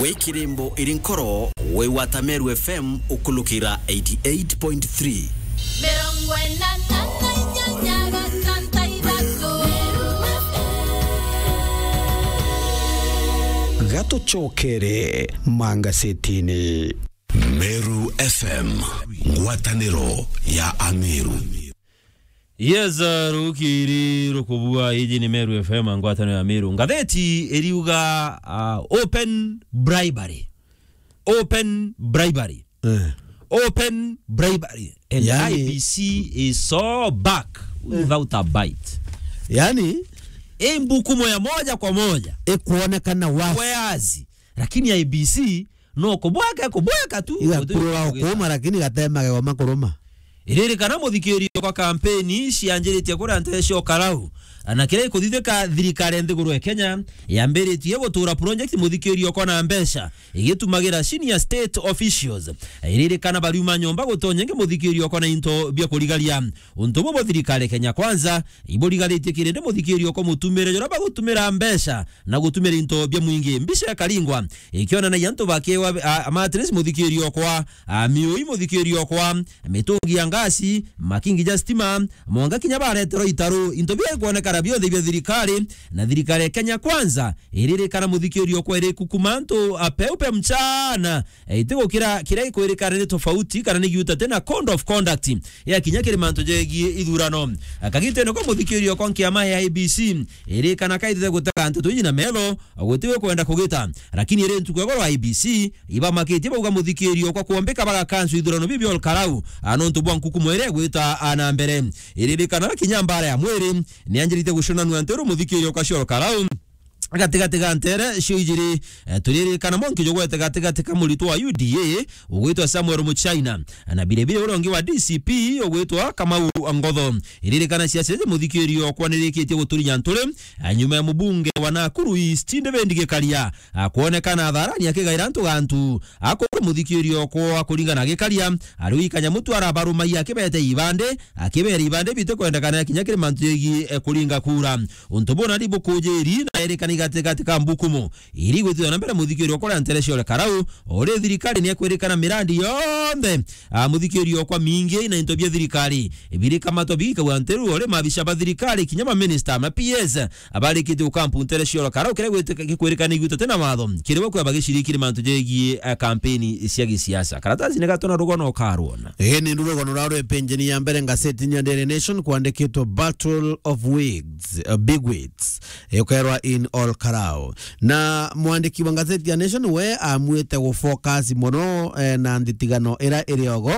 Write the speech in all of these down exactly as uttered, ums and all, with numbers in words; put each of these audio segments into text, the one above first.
Wi kirimbo iri nkoro, wi gwata Meru F M ukulukira eighty eight point three. Mirongo ina na inyanya gatantu ithatu. Gatucokere mangasetini. Meru F M, ngwataniro ya Ameru. Yes, uh, rukiri rukubua, iji ni Meru F M, ngwataniro ya Meru. Ngatheti iriuga, uh, open bribery. Open bribery. Eh. Open bribery. And Yani I B C is so back without a bite. Yani, i mbukumo ya moja kwa moja. Ikuonekana wazi. Wazi. Lakini I B C no kubweka, kubweka tu. Igakurura ukuma, lakini gatema gegoma kuruma. Iririkana, muthikirio, kwa kampeni cianjiritie kuria ntere cia Karau, na kiria gikuthithika, thirikari ya nthiguru ya Kenya yambiritie gutura project, muthikirio, kwa na mbeca igitumagira senior state officials. Iririkana, bariuma nyomba gutonya ingi, muthikirio, kwa na into bia kurigaria. Untu bubu thirikari ya Kenya Kwanza iburigathitie kirindi, muthikirio, kwa mutumire juria bagutumira mbeca na gutumira into bia mwingi. Mbica ikaringwa ikionanagia antu bakiwa, a, a mattress, muthikirio, kwa, a, miui, muthikirio, kwa mitungi ya ngasi, makingi ja stima, mwanga kinya bareterwa itaru. Into bia ikwonekana bionthe bia thirikari, na thirikari ya Kenya Kwanza iririkana, muthikirio, kwa iri kukuma antu a peupe mchana. E, itigukira kiria gikwirikana ni tofauti kana ni giuta tena code of conduct ya kinya kiri mantu jegie ithurano. Akagitene kwa muthikirio, kwa nkiama ya I B C, irikana kaitite gutega nteto iji na melo, gutiwe kwenda kugita. Lakini iri ntuku ya goro I B C ibamakitie bauga muthikirio, kwa kuombika bagakansu ithurano bibi Ol Karau, a, nontu bwa nkukumo iria igwita, a, na mbere. Iririkana kinya mbara ya mwiri ni anjirite guconanua nteru, muthikirio, kwa cia Ol Karau. Gatigati ga ntere cio ijiri, eh, turirikana mwanki jugwete gatigati ka muritwa wa U D A ugwitwa Samuel Muchaina, na biribiri uria ungi wa D C P ugwitwa Kamau Ngotho. Iririkana ciaca iji, muthikirio, kwa nirikitie guturinya nturi, eh, nyuma ya mubunge wa Nakuru East David Gikaria, ah, kwonekana atharani akigaira antu gantu. Akorwo muthikirio, kwa kuringana Gikaria, ariu ikanyamu tu arabarumagia akibete ibande, akibera ibande bite kwendekana kinya kiri mantu jegi, eh, kuringa kura. Untu buna ni bukujiri na erikani gatigati ka mbukumo iri gwithithwa na mbere, muthikirio, kwa ntere cia Ol Karau, uri thirikari ni ekwirikana mirandi yonthe, a, muthikirio, kwa mingi na into bia thirikari birikamatwa bigikagwa nteru, uri mabica ba thirikari, kinya ma minister, ma P S, abarikitie gukampu ntere cia Ol Karau, kiria gwiteka-, gikwirikana iguta tena watho, kiri bo kweba gicirikiri mantu jegie, a, kampeni cia gisiasa. Karatasi ni gatona rugona ukarwona. Ii ni ndu rugano rwa rwe penjeni ya mbere ngasetini ya Daily Nation kwandikitwe Battle of Wigs, uh, Big Wigs, eh, ukerwa in Ol Karau. Na mwandiki wa ngatheti ya Nation we amwite gufocus mono, eh, na nthithigano ira iri ogo,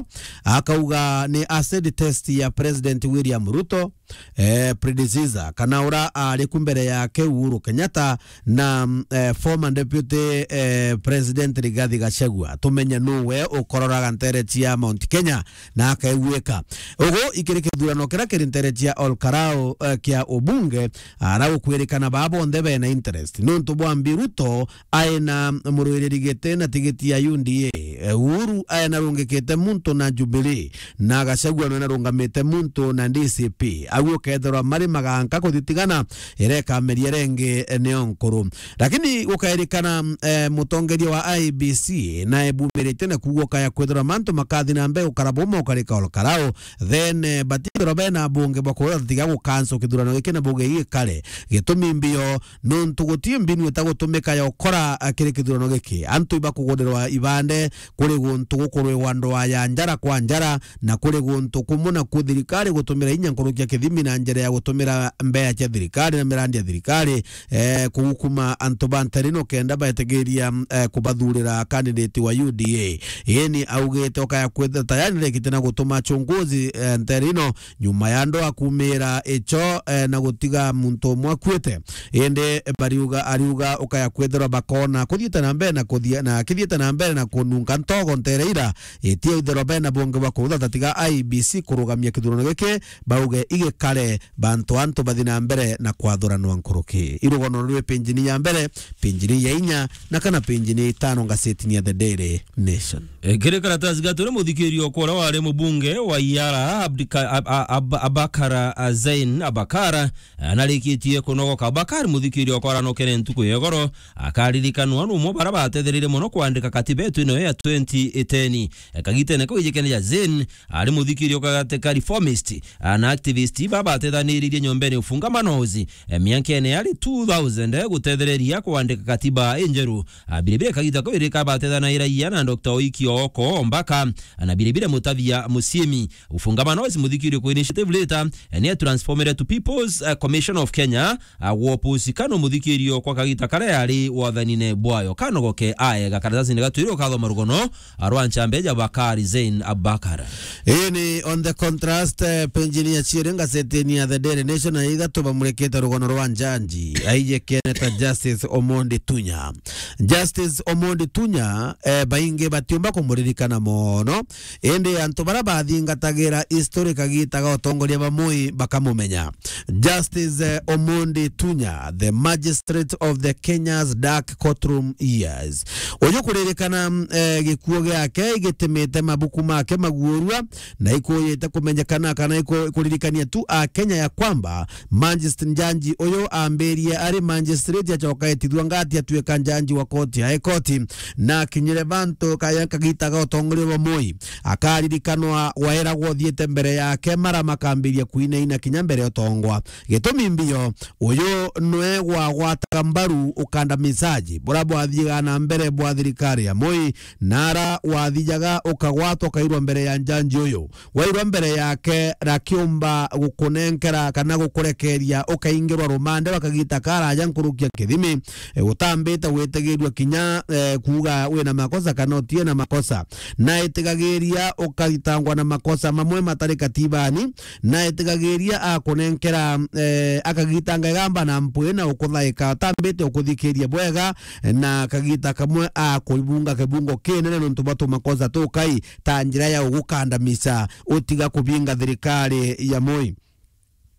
akauga ni acid test ya President William Ruto, eh, predecessor, kana ura ari ku mbere yake Uhuru Kenyatta na, mm, eh, former deputy, eh, president Rigathi Gachagua. Tumenye nu we ukororaga ntere cia Mount Kenya na akaiguika. Ugu ikiri kithurano kiria kiri ntere cia Ol Karau, eh, kia ubunge, ara gukwirikana baa bonthe bena interest. Nontu bwa mbi Ruto aina murwiriri giti na tigiti ya U D A, eh, Uhuru aina rungikite muntu na Jubilee, na Gachagua nwena rungamite muntu na D C P. Au ukethirwa mari maganka kuthitigana, ireka meria rengi, eh, nio nkuru. Lakini gukairikana, eh, mutongeria wa I B C nae bumiritie na kuuga ukaya kwithirwa mantu makathi na mbere gukara buma ukarika Ol Karau, then, eh, batithirwa bena bunge bwa kuuga tiga gukanso kithurano giki na buge gikare. Gitumi mbio, nontu guti mbinu itagutumika ya ukora, eh, kiri kithurano giki. Antu ibakugurirwa ibande kuri guntu gukurwigwa ndwaa ya njara kwa njara, na kuri guntu kumwe na ku thirikari gutumira inya nkuruki ya kithimi na njira ya gutumira mbea cia thirikari na mirandi ya thirikari, eh, kugukuma antu ba ntere ino kenda baetigiria, eh, kubathurira candidate wa U D A. Ii ni augite ukaya kwithira tayari rekite na gutuma achunguzi, eh, ntere ino nyuma ya ndwaa kumira icho, eh, na gutiga muntu umwe akuite. Indi bariuga, ariuga ukaya kwithirwa bakona kuthiite na mbere na kuthia-, na kithiite na mbere na kununga togo ntere ira, itia itherwa bena bungi bwa kuthata tiga I E B C kurugamia kithurano giki, bauge igikare bantu antu bathi na mbere na kwathuranwa nkuruki. Irugono rwi pinjini ya mbere, pinjini ya inya, na kana pinjini ya itano ngasetini ya The Daily Nation. E, kiri karatasi ga turi muthikirio kwa uria wari mubunge wa Iara, Abdika-, Ab-, Ab-, Ab-, Abakar, a, Zain Abakar, anarikitie kunogoka. Abakar, muthikirio kwa aranokere ntuku ya igoro, akaririkanwa ni umwe bara batethereire mono kwandika katiba yetu ino ya twenty ten. E, kagitene kau ijikene ja Zain, ari muthikirio gati ka reformist, a, na activist babatethaniririe nyombene Ufungamanozi, e, miankene yari two thousand, e, gutethereria kwandika katiba injeru. A, biribiri kagita kau irika batethanairia na Doctor Oiki Ooko Ombaka, a, na biribiri Mutavia Musiemi. Ufungamanozi muthikirio kwa Initiative Leader, e, ni atransformire to People's, e, Commission of Kenya, a, gwa opposition muthikirio kwa kagita karia yari wathanine bwayo. Kanogoke aega karatasini gatwiri ukathoma rugono, a, rwa nchambe ja Bakari Zain Abakar. Ii ni On the Contrast, eh, penjini ya ciiri ngasetini ya The Daily Nation, na ithatu bamurikite rugono rwa njanji aijikene ta Justice Omondi Tunya. Justice Omondi Tunya, eh, baingi batiumba kumuririkana mono, indi antu bara bathingatagira history kagita ga utongoria ba Moi bakamumenya. Justice, eh, Omondi Tunya, the magistrate of the Kenya's dark courtroom years. Uyu kuririkana, eh, gikuo giake gitimite mabuku make maguurua, na ikuyite kumenyekana kana iku-, ikuririkania tu a Kenya ya kwamba magistrate njanji uyu ambirie ari magistrate, acoka etithua ngati atuika njanji wa koti ya High Court, na akinyire bantu kaya kagita ga utongoria bwa Moi. Akaririkanwa wairagwa uthiite mbere yake, mara makambiria kuinaina kinya mbere utongwa. Gitumi mbio, uyu nwe gwagwataga mbaru ukandamisaji bura bwathiaga na mbere bwa thirikari ya Moi, nara wathijaga ukagwatwa ukairwa mbere ya njanji uyu. Wairwa mbere yake, rakiumba gukunenkera kana gukurekeria ukaingirwa rumande bakagita karaja nkurukia kithimi, e, utambite gwitigirua kinya, e, kuuga wina makosa kana utie na makosa. Na itigagiria ukaitangwa na makosa mamwe matari katibani, na itigagiria akunenkera, e, akagitanga igamba na mpwi na ukuthaika, utambite ukuthikiria bwega, na kagita kamwe akubunga kibungo kinene nontu bwa tumakosa tukai ta njira ya ugukandamisa utiga kubinga thirikari ya Moi.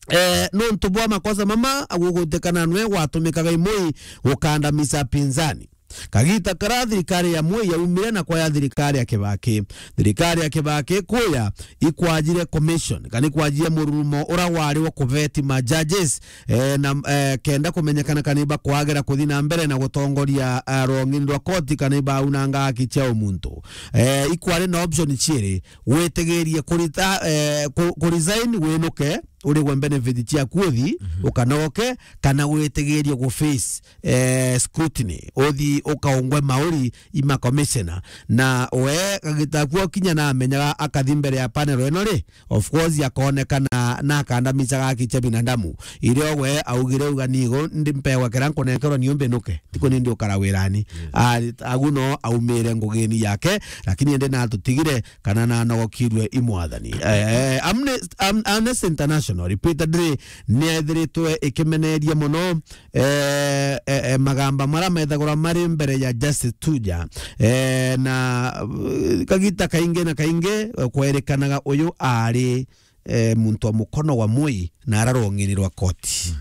Eh, nontu bwa makosa mama, agugwitikana nwe gwatumikaga i Moi gukandamisa pinzani. Kagita kara thirikari ya Moi yaumire na kwa ya thirikari ya Kibaki. Thirikari ya Kibaki kuya ikwajire commission, kana ikwajire mururumo ura wari wa kuveti ma judges, eh, na, eh, kenda kumenyekana kana ibakwagera kuthi na mbere na gutongoria, eh, rwong'ini rwa koti kana ibaunanga haki cia umuntu. Eh, ikwari na option ciiri, witigirie kurita, eh, ku-, ku resign winuke, urigwe benefit ciaku uthi, mhm, ukanogoke, kana witigirie gu face, eh, scrutiny, uthi ukaungwe mauri i ma commissioner. Na we kagita kuo kinya na amenyaga akathi mbere ya panel ino ri, of course akonekana na akandamisaga haki cia binadamu. Irio we augire uga nigo ndi mpewa kira nkunenkerwa niu mbinuke. Tiko nindi ukara wirani. Yes. A-, agu no aumire ngugini yake, lakini indi natutigire kana nanogokirue i mwathani. Eh, Amnes-, Am-, Amnesty International repeatedly niethiritwe ikimeneria mono, eh, eh, eh, magamba mara methagura mari mbere ya Justice Tuja. Eh, na, eh, kagita kaingi na kaingi, eh, kwerikanaga uyu ari, eh, muntu wa mukono wa Moi na ara rwong'ini rwa koti.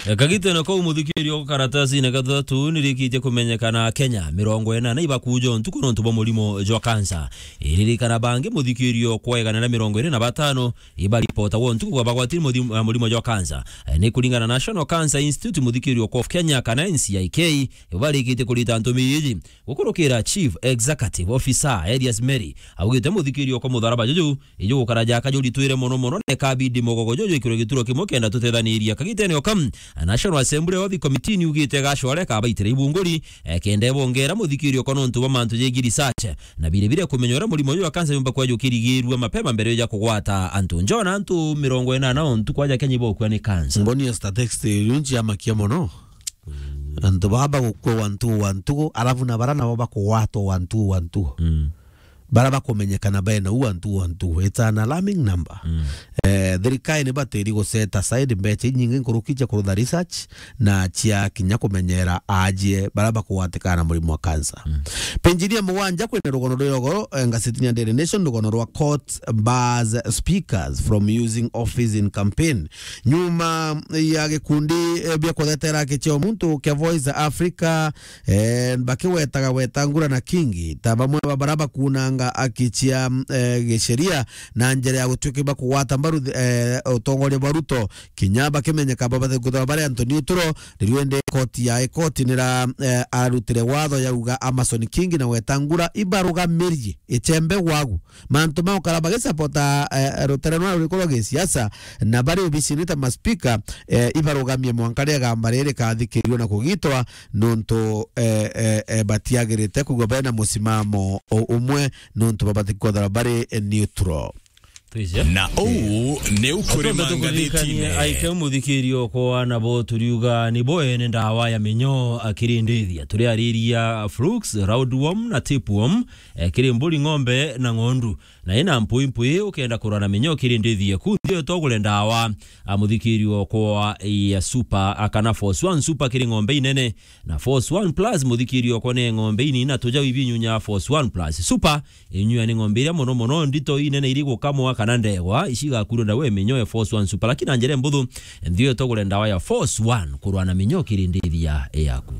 E, kagitene kau muthikirio karatasine gathatu nirikitie kumenyekana Kenya mirongo inana ibakujo ntuku nontu bwa murimo jwa kansa. Iririkana bangi muthikirio kwa igana na mirongo iri na batano ibaripota wo ntuku kwa bagwatiri muthi-, murimo jwa kansa. E, ni kuringana na National Cancer Institute muthikirio kwa of Kenya kana N C I K ibarikitie kurita ntumi iji. Gukurukira Chief Executive Officer Elias Meri augite muthikirio kwa mutharaba juju iju gukara jaka juritwire mono mono, na ikabidi mugogo juju ikirwe gituro kimwe kenda tutethaniria. Kagitene oka, National Assembly Audit Committee niugite gacware kabaitire ibunguri, e, kenda ibongera muthikirio kwa nontu bwa mantu jegi research, na bire bire kumenya uria murimo uyu wa kansa yumba kwa jukirigirua mapema mbere ya kugwata antu. Njona antu mirongo inana ontu kwa ja Kenya ibokua ni kansa. Mboni ya statistics yunji amakia mono. Mm. Antu baba gukua wantu wantu, alafu na bara nabo bakugwatwa wantu wantu. Mm. bara bakumenyekana bena u antu, antu. It's an alarming number. Mm. Eh, thirikari ni batiri gu set aside mbeca inyingi nkuruki cia kurutha research na cia kinya kumenyera aajie bara bakugwatikana na murimo wa cancer. Mm. Penjiria mugwanja kwina rugono rwa ugoro, eh, ngasetini ya Daily Nation, rugono rwa court bars speakers from using office in campaign. Nyuma ya gikundi, eh, bia kuthetera haki cia muntu kia Voice Africa, eh, bakiwetaga Wetangula na Kingi ta bamwe ba bara bakunanga haki cia, eh, gisheria na njira ya gutuika bakugwata mbaru, eh, utongoria bwa Ruto, kinya bakimenyeka babathe kuthwa bari antu neutral, riu indi koti ya ikoti nira, eh, arutire watho yauga Amason Kingi na Wetangula ibarugamirie ichembe gwagu. Mantu ma gukara bagisapota, eh, rutere rwa ruriku rwa gisiasa, na bari obisini ta maspika, eh, ibarugamie mwanka riria igamba riri rikathikiririo na kugitwa, nontu, eh, eh, eh, batiagirite kwigua bena musimamo u-, umwe, nontu babati kwethirwa bari, eh, neutral. Twije. Na uu ni ukurima ngathitine. Aike muthikiri okwa nabo turiuga ni bo ene ndawa ya minyo akirindithia. Turiariria flukes, roundworm na tapeworm, eh, kiri mburi, ng'ombe na ng'ondu. Na ina mpui mpui ukenda kurwa na minyo kirindithie ku nthio togure ndawa. A muthikiri okwa ya Super akana Force One Super kiri ng'ombe inene. Na Force One Plus muthikiri okwa ni ng'ombe inini na tujau ibinyunya Force One Plus Super. Inyua ni ng'ombe iria mono mono ndito inene iri gukamwa kana ndegwa, ici igakurwa ndawa ya minyo ya Force One Super. Lakini na njira mbuthu, nthio togure ndawa ya Force One kurwa na minyo kirindithia yaku.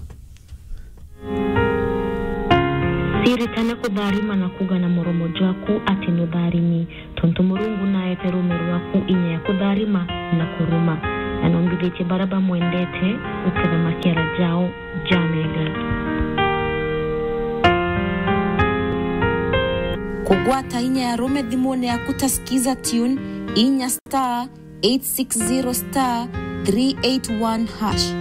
Ciritane kutharima na kuuga na muromo jwaku ati nutharimi, tontu Murungu naete ruume rwaku inya ya kutharima na kuruma, na nombithitie baria bamwendete guketha makiara jao ja mega. Kugwata inya ya ruume thimune yaku ta Skiza Tune, inya star eight six zero star three eight one hash.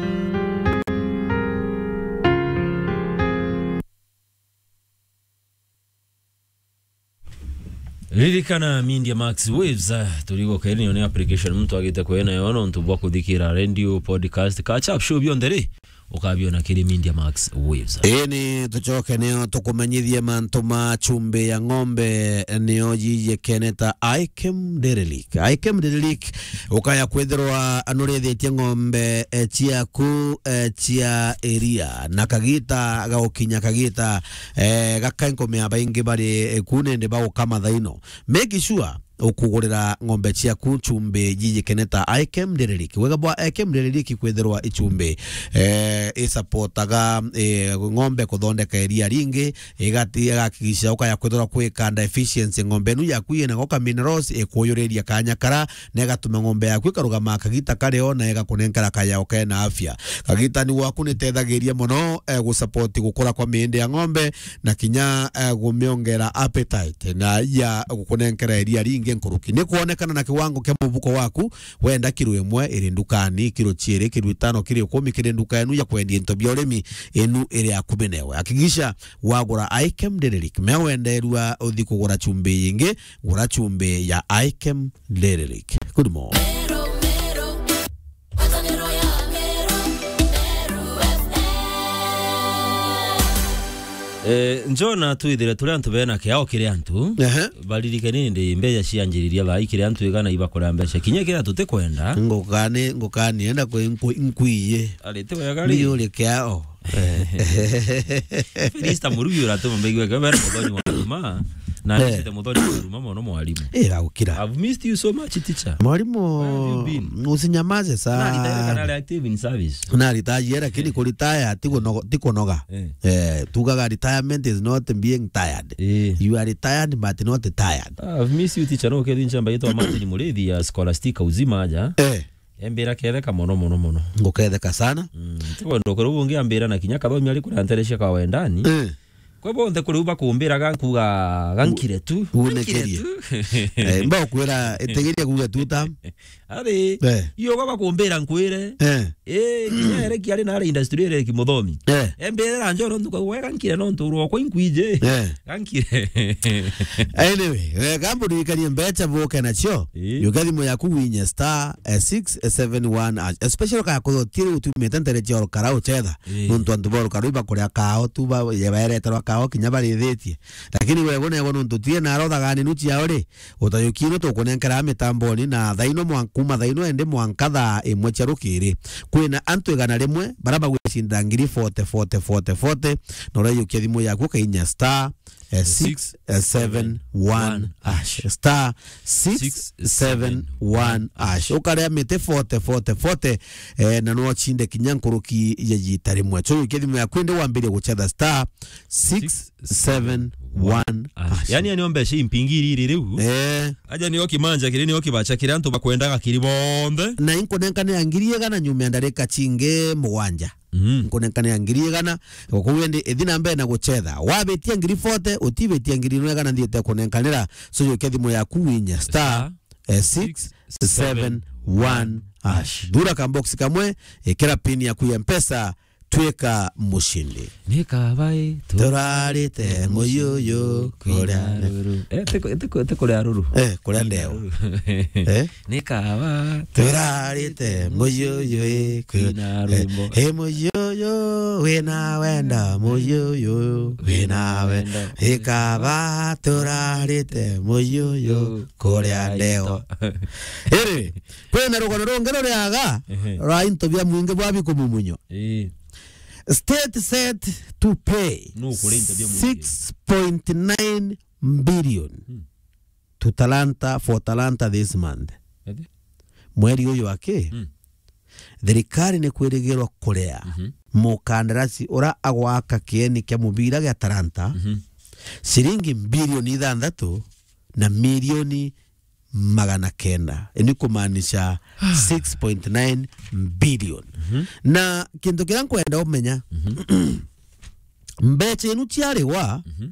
Ririkana Media Max Waves, ah, turigo keni ni application muntu agite kwena yo nontu bwa kuthikira radio, podcast, catch up show bionthe ri, ukabiona kiri Media Max Waves. Ii ni tucoke nio tukumenyithie mantu ma chumbi ya ng'ombe nio yiyikene ta Ikem Dairy Leak. Ikem Dairy Leak ukaya kwithirwa nurithitie ng'ombe, eh, ciaku, eh, cia iria na kagita ga gukinya kagita, eh, gaka nkumea baingi bari, eh, ku nindi bagukama thaino. Make sure ukugurira ng'ombe ciaku chumbi yiyikene ta Ikem Dairy Leak. Wega bwa Ikem Dairy Leak kwithirwa ichumbi, eh, isapotaga, eh, ng'ombe kuthondeka iria ringi, igati-, igakikisha ukaya kwithirwa kwi ka deficiency ng'ombe inu yaku yina goka minerals ikuyuriria kanya kara, na igatuma ng'ombe yaku ikarugama kagita kario na igakunenkera kayao kena afya. Kagita ni gwaku nitethagiria mono, eh, gusupport gukura kwa miindi ya ng'ombe na kinya, eh, gumiongera appetite na ya gukunenkera iria ringi nkuruki. Ni kwonekana na kiwango kia mubuko waku, wenda kiro imwe iri ndukani, kiro ciiri, kiro itano, kiro ikumi kiri nduka enu ya kwendia into bia urimi inu iri akubi newe. Hakikisha wagura Ikem Dairy Leak, mea wenderua uthi kugura chumbi yingi, gura chumbi ya Ikem Dairy Leak. Good morning. Eh, Njona twithire turi antu bena kiao kiri antu. Ehe. Baririkane nindi mbeca cianjiriria thaa ii kiri antu igana ibakuria mbeca. Kinya kira tutikwenda. Ngukani, ngukani, enda kwi nkwi-, nkwiye. Ari ti wega ri. Ni uri kiao. Felista Murugi uratuma mbegwe ke bera muthoni wa ruma. Na eh, nite muthoni wa ruma mono mwarimu. Eh, gagukira. I've missed you so much, teacher. Mwarimu, where have you been? Usinyamaze sana. Na retire kana ari active in service? Na retire, lakini kuretire ti kunoga, ti kunoga. Eh. Eh, tugaga retirement is not being tired. Eh. You are retired but not tired. Ah, I've missed you, teacher. No, kethi nchamba yitwa Martin Murithi ya Scholastica Uzima aja. Eh. Embira ketheka mono, mono, mono. Nguketheka sana. Mm, tikwenda ukorwo ungi ambira na kinya kathomi ari kuria nterecia kwa wendani. Eh. Kwe bonthe kuri u bakumbiraga nkuga gankire tu. Gankire tu. Eh, mba ukwira itigiria kuga tu ta. Ari, eh, iyo gwa bakumbira nkwire. Eh. Eh, kinya ere kiari na ari industry ere kimuthomi. Eh. Embira njoro nduka gwe gankire no nturwo kwa inkwije. Eh. Gankire. Anyway, eh, gambo ndirikanie mbeca buke nacio. Eh. Yuka thimu yaku winye star, eh, six seven one hash. Especially kaya kuthotiri utumite ntere cia orokara uchetha. Eh. Nontu antu ba orokara ibakuria kao tu ba, ye baereterwa ao kinya barithitie. Lakini wego nego nontu tie na arothaga ninu ciao ri, utayuki ino tukunenkera mitamboni na thaino mwan-, kuma thaino ende mwanka thaa imwe cia rukiri. Kwina antu igana rimwe bara bagwicinda ngiri forty, forty, forty, forty, na urayukia thimu yaku ukainya star, eh, six seven one hash. Star six seven one hash. Ukarea miti forty, forty, forty, eh, na no cinde kinya nkuruki ya jita rimwe. So, ukie thimu yaku ende wambirie gucetha star six seven one hash. Yani, yani ombe shi mpingiri iri riu. Eh. Aja nio kimanja kiri, nio kibacha kiri antu bakwendaga kiri bonthe. Na inkunenkanira ngiri igana nyuma ya ndarika cingi mugwanja. Mhm. Nkunenkanira ngiri igana, kou indi ithi na mbere na gucetha. Wabitia ngiri forty, utibitia ngiri igana nthiite kunenkanira. So, yukia thimu yaku winye star, eh, six seven one hash. Thura ka box kamwe, ikira pin yaku ya Mpesa, twika mushindi. Ni kabai turarite muyuyu kuria ruru. Eh, tiko, tiko, tiko kuria ruru. Eh, kuria ndeo. Eh? Ni kaba. Turarite muyuyu, eh, ku-, kwina rwimbo. Eh, eh, muyuyu, wina wenda, muyuyu, wina we-, wenda. Ikaba turarite muyuyu, kuria ndeo. Iri, kwina rugano rungi ruriaga, ehe, rwa into bia mwingi bwa bikumumunyo. Ii. State set to pay, nukuria into bia mwingi, six point nine billion. Hmm. To Talanta, for Talanta this month. Ati? Mweri uyu wa ki? Mm. Thirikari ni kwirigirwa kuria, mhm, mukandarasi ura agwaka kieni kia mubira gia Talanta, mhm, ciringi bilioni ithanthatu na milioni magana kenda. Ni kumaanisha six point nine billion. Mhm. Na kintu kiria nkwenda umenya, mhm, mbecha inu ciarigwa, mhm,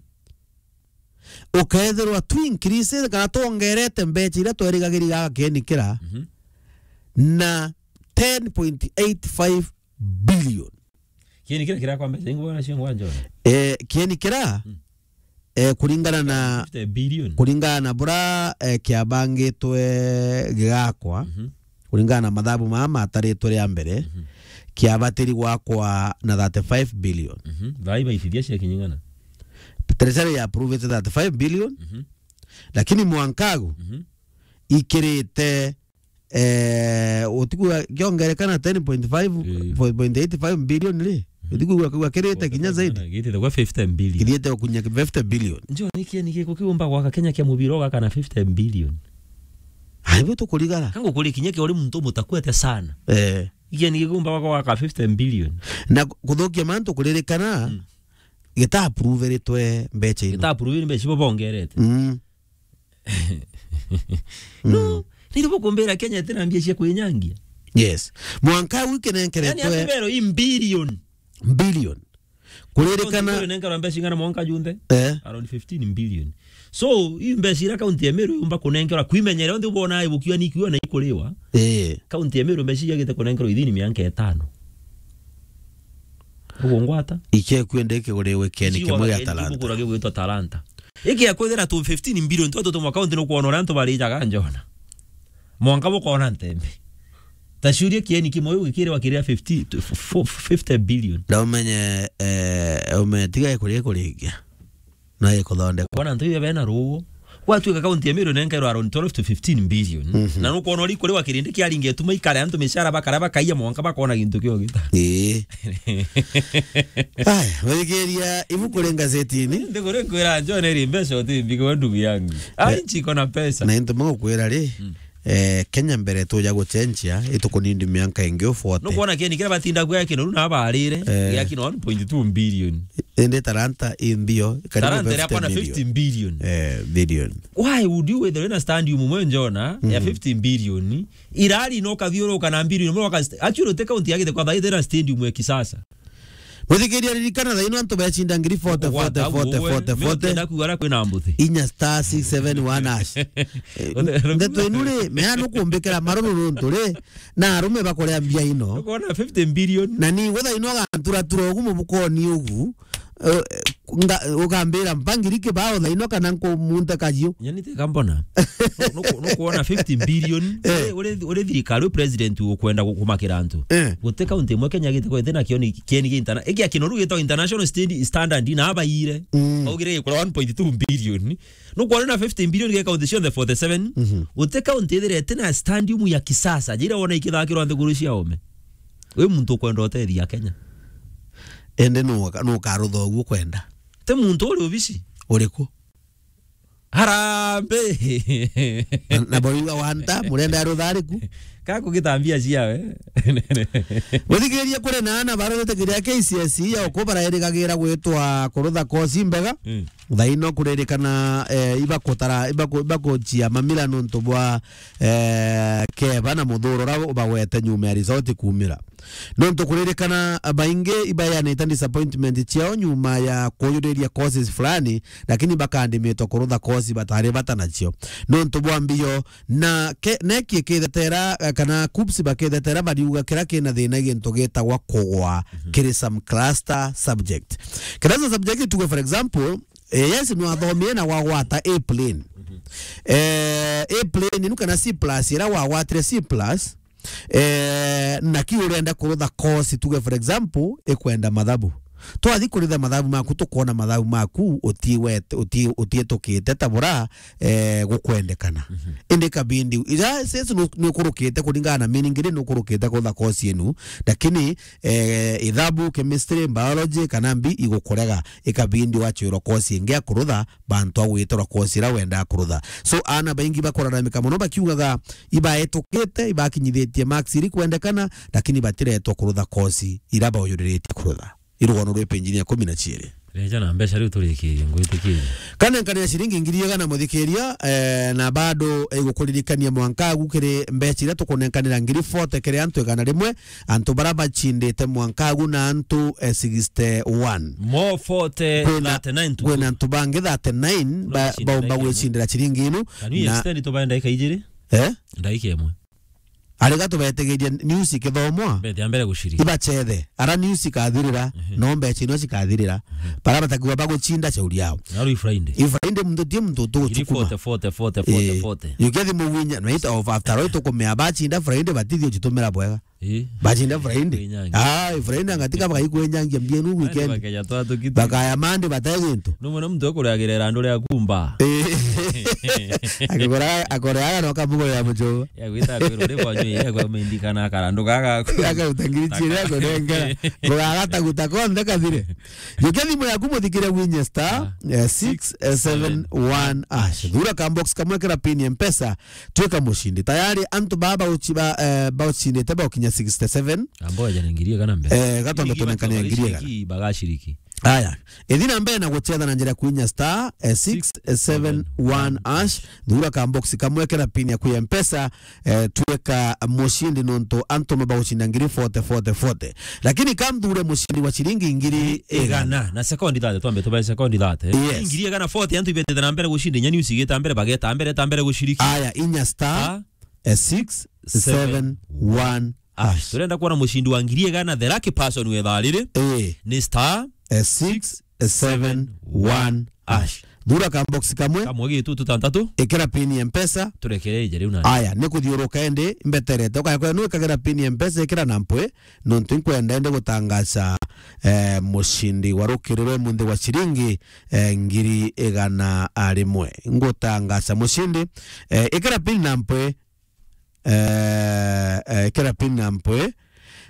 ukethirwa tu increase kana twongerete mbecha iria twerigagiriria gakeni kira, mhm, na ten point eight five billion. Kieni kira kirakwa mbecha ingi bwana cio ngwanjo? Eh, kieni kira, mm, eh, kuringana na fifty billion. Kuringana na bura, eh, kiabangitwe gigakwa, mhm, kuringana na mathabu maya mataritwe ria mbere, mhm, kiabatiri gwakwa na thirty-five billion. Mhm. Thaa iba ithithia cia kinying'ana. Treasury ya approve thirty-five billion, mhm, lakini mwankagu, mhm, ikirite, eh, utiku kiongerekana ten point five, eh, point eight five billion ri? Mhm. Utiku kwa kirite kinya zaidi. Gitite kwa fifty billion. Kithiete kunya fifty billion. Njo ni kieni giku kiumba gwaka Kenya kia mubira ugaka na fifty billion. Ai, bo tukurigara. Kangu kuri kinya kia uri muntu mutakuete sana. Eh. Kieni gikumba gwaka fifty billion. Na kuthukia mantu kuririkana, mm, gita approve ritwe mbecha ino. Gita approve mbecha ibo bongerete. Mm. No, mm, niri bukumbira Kenya itina mbia cia kwinyangia. Yes. Mwanka uu ikinenkeretwe. Yani, atubero i billion. Billion. Kuririkana. County Meru inenkerwa mbeca ing'ana mwanka junthe? Eh. Around fifteen billion. So, i mbeca iria county ya Meru yumba kunenkerwa kwimenyera, onthe ubona ibukiwa ni ikiwa na ikuriwa. Eh. County ya Meru mbeca iria igite kunenkerwa ithini mianka itano. Uguo ngwata? Ike kwende ikiguriwe kieni kimwe gia Talanta. Kugura gigwitwa Talanta. Iki ya kwithira tu fifteen billion, twa tutumwa county nukwona uria antu barijaga njona. Mwanka bukona ntembe. Ta ciuria kieni kimwe gikiriwa kiria fifty, to f-, f-, fifty billion. Na umenye, eh, umenye tiga ikuria ikurikia. Na ikuthondeka. Bona antu ibe bena ruo. Gwatuika county ya Meru nenkerwa around twelve to fifteen billion. Mhm. Na nukwona uri kuriwa kirindi kiaringe tuma ikare antu micara bakara bakaiya mwanka bakona gintu kio gita. Ii. Aya, wirikiria ibuku ri ngazetini. Ndiguri nkwira John iri mbeca uti mbigwa ndugu yangu. Ai, eh, nchi iko na pesa. Na into magukwira ri, mm, eh, Kenya mbere tuja gucenjia, itukunindi mianka ingi u forty. Nukwona kieni kiria batinda kuya kinoru na abarire, eh, ya kino one point two billion. Indi Talanta i mbio, karibu Talanta iria fifty kwana billion. Fifty billion. Eh, billion. Why would you withdraw na stadium mwe njona ya, mhm, fifty billion? Irari no kathiuruka na billion, mwe waka st-, actually, te county yagite kwa thaithe na stadium ya kisasa. Muthikiria, ririkana thaino antu becinda ngiri forty, forty, forty, forty, forty. Nenda kuuga ara kwina mbuthi. Inya star six seven one hash. Eh, ndeto inu ri, mea nukumbikira maruru nuntu ri, na arume bakuria mbia ino. Ukona fifty billion. Na ni gutha ino agantura tura ugu mubukoni ugu. Eh, nga-, ukambira mpangiri kibao thaino kana nkumunte kajiu. Nyani tika mbona. Nuku-, nukuona fifty billion. Eh. Uri, uri, uri thirikari, uri president ukwenda gu-, kumakira antu. Eh. Guti kaunti imwe Kenya giti kwete na kioni kieni gi interna-, ikia kinoru gitwa international stand-, standard na abaire. Mm. Augire gikura one point two billion. Nukwona na fifty billion ge kaunti cionthe forty seven. Mhm. Guti kaunti ithirete na stadium ya kisasa. Jira wona ikithakirwa nthiguru cia ome. Wi muntu ukwenda utethia Kenya. Ende nu, nu karutha uguo kwenda. Ti muntu uri obici. Uriku? Harambe. Na, na boriuga wanta, murenda ya ruthariku? Ka kugitambia ciawe. Guthikiria kuri na ana barorete kiria K C S E ya uku barairigagira gwitwa kurutha kosi mbega. Mm. Thaino kuririkana, eh, ibakutara, ibaku-, ibakuchia mamira nontu bwa, eh, keba na muthuro ura ubagwete nyuma ya result kumira. Nontu kuririkana, baingi ibayanite disappointment ciao nyuma ya kuyuriria courses fulani, lakini bakandimitwa kurutha course batari bata nacio. Nontu bwa mbio, na ke-, neki ikithetera, eh, kana KUPPS bakithetera bariuga kira kina thina gintu gitagwa kugwa Mhm. kiri some cluster subject. Cluster subject, tuge for example, eh, yes, nwathomire na wagwata A plane. Mhm. Eh, A plane, inu kana C plus, ira wagwatire C plus, eh, na ki urenda kurutha course, tuge for example, ikwenda mathabu. Twathi kuritha mathabu maku, tukwona mathabu maku uti wet-, uti-, utiitukite ta bura, eh, gukwendekana. Mhm. Indi kabindi, ira sesi nu-, nukurukite kuringana na meaning iri nukurukite kurutha course inu, lakini, eh, ithabu, chemistry, biology, kana mbi igukurega, ikabindi wachwirwa course ingi ya kurutha, bantu a gwitirwa course ira wendaa kurutha. So, ana baingi bakuraramika mono bakiugaga ibaetukite, ibakinyithitie marks iri kwendekana, lakini batiretwa kurutha course ira bauyuriritie kurutha. Irugono rwi page-ini ya kumi na ciiri. Reja na mbeca riu turikirie, ngwitikirie. Kanenkanira ciringi ngiri igana, muthikiria, eh, na bado igukuririkania mwanka agu kiri mbeca iria tukunenkanira ngiri forty kiri antu igana rimwe, antu bara bachindite mwanka agu na antu, eh, sixty-one. Mo forty, kwina, thirty-nine tu. Kwina antu bangi thirty-nine ba-, baumba gwicindira ciringi inu. Can we extend tubae ndagika ijiri? Eh? Ndagika imwe. Ariga tubetigiria news ikithomwa. Mbete ya mbere guciriki. Ibachethe. Ara news ikathirira, Mhm. no mbeca ino cikathirira. Mhm. Bara batakiwa baguchinda shauri yao. Na riu Friday. I Friday muntu tie muntu Ngiri tuguchukuma. Forty, forty, forty, forty, Eh, forty. Yukethi muwinya, na ita of after all tukumea bachinda Friday batithio chitumira bwega. Eh. Bachinda Friday. Kwenyangia. Ah, Friday ngatika bakaikwenyangia mbienu weekend. Bakaya twa tukiti. Bakaya Monday batae gintu. No mwana muntu akuragirira andu ria kumba. Eh. Akigura, akore aga no kabugo ya mujo. Ya gwita kwirwo ri kwa nyui, ya kwa mindi kana karandu gaga. Aga utangiri chire ako nenga. Gugagata guta konthe kathire. Yuke thimu yaku muthikire winye star, Ah. eh, six seven one hash. Thura ka box kamwe kira pin ya Mpesa, twika mushindi. Tayari antu baba uchi-, ba, eh, bauchindite baukinya sixty-seven. Ambo aja ningirie kana mbere. Eh, gatonda Ningirie tunengane batonda ngirie gana. Giciriki, bagaciriki. Aya, ithi na mbere na guchetha na njira ya kuinya star, eh, six seven one hash, thura ka box kamwe kira pin ya kuya Mpesa, eh, twika mushindi nontu antu mabauchinda ngiri forty, forty, forty. Lakini kamthure mushindi wa ciringi ngiri igana. Igana. Na sekondi thate, twambe tubae sekondi thate. Yes. Ngiri igana forty, antu ibetete na mbere guchinda, inya news igeta mbere, bageta mbere, ta mbere guciriki. Aya, inya star, Ah. eh, six seven one hash. Turenda kuona mushindi wa ngiri igana, the lucky person we thaa riri. Eh. Ni star Eh, six seven one hash. Thura ka box kamwe. Kamwe gitutu tantatu. Ikira pin ya Mpesa. Turekere ije riu na. Aya, ni kuthiuruka indi mbeterete. Ukaya kwa nu ikagira pin ya Mpesa, ikira na mpwe. Nontu nkwenda indi gutangaza, eh, mushindi wa rukiri rwe munthi wa ciringi, eh, ngiri igana rimwe. Ngutangaza mushindi, eh, ikira pin na mpwe. Eh, eh, ikira pin na mpwe.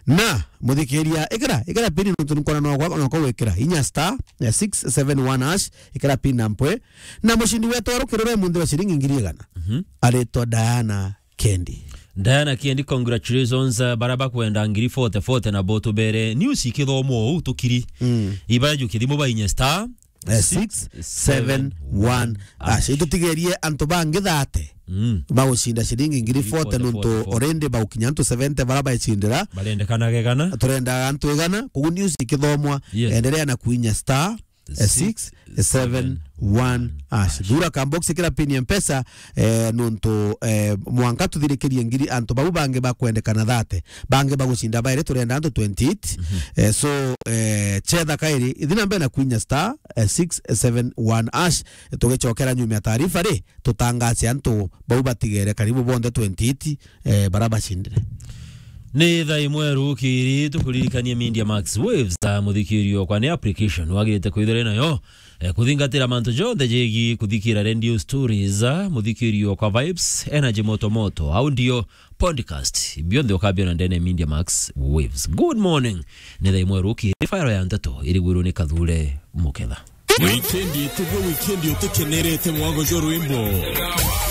Na, muthikiria, ikira, ikira pin nontu nkona no kwa, no kwa gwikira. Inya star, eh, six seven one hash, ikira pin na mpwe. Na mushindi wetu wa rukiri rwe munthi wa ciringi ngiri igana. Mhm. Aritwa Diana Kendi. Diana Kendi, congratulations, eh, bara bakwenda ngiri forty, forty na bo tubere. News ikithomwo uu tukiri. Mm. Ibara juki thimu ba inya star, Eh, six seven one hash. Itutigerie antu bangi thate. Mm. Bagucinda ciringi ngiri forty nontu forty, forty. Already baukinya antu seventy bara baicindira. Barendekana gegana. Turenda antu igana. Koguo news ikithomwa, Yes. endelea na kuinya star eh, six seven one hash. Thura ka box, ikira pin ya Mpesa, eh, nontu, eh, mwanka tuthirikirie ngiri antu bau bangi bakwendekana thate, bangi bagucinda bairi, turenda antu twenty-eight. Mhm. Eh, so, eh, chetha kairi, ithi na mbere na kwinya star, eh, six seven one hash. Tugicokera nyuma ya taarifa ri, tutangace antu bau batigere karibu bonthe twenty-eight, eh, bara bacindire. Ni thaa imwe rukiri, tukuririkanie Media Max Waves, ta muthikiri okwa ni application wagirite kwithira nayo, eh, kuthingatira mantu jonthe jegi kuthikira radio stories, ah, muthikiri okwa vibes, energy moto moto, audio, podcast, bionthe ukabiona ndene ya Media Max Waves. Good morning. Ni thaa imwe rukiri, fire ya nteto irigwirwo ni Kathure Muketha. Wikendi itigwe wikendi utikenerete mwago jwa rwimbo.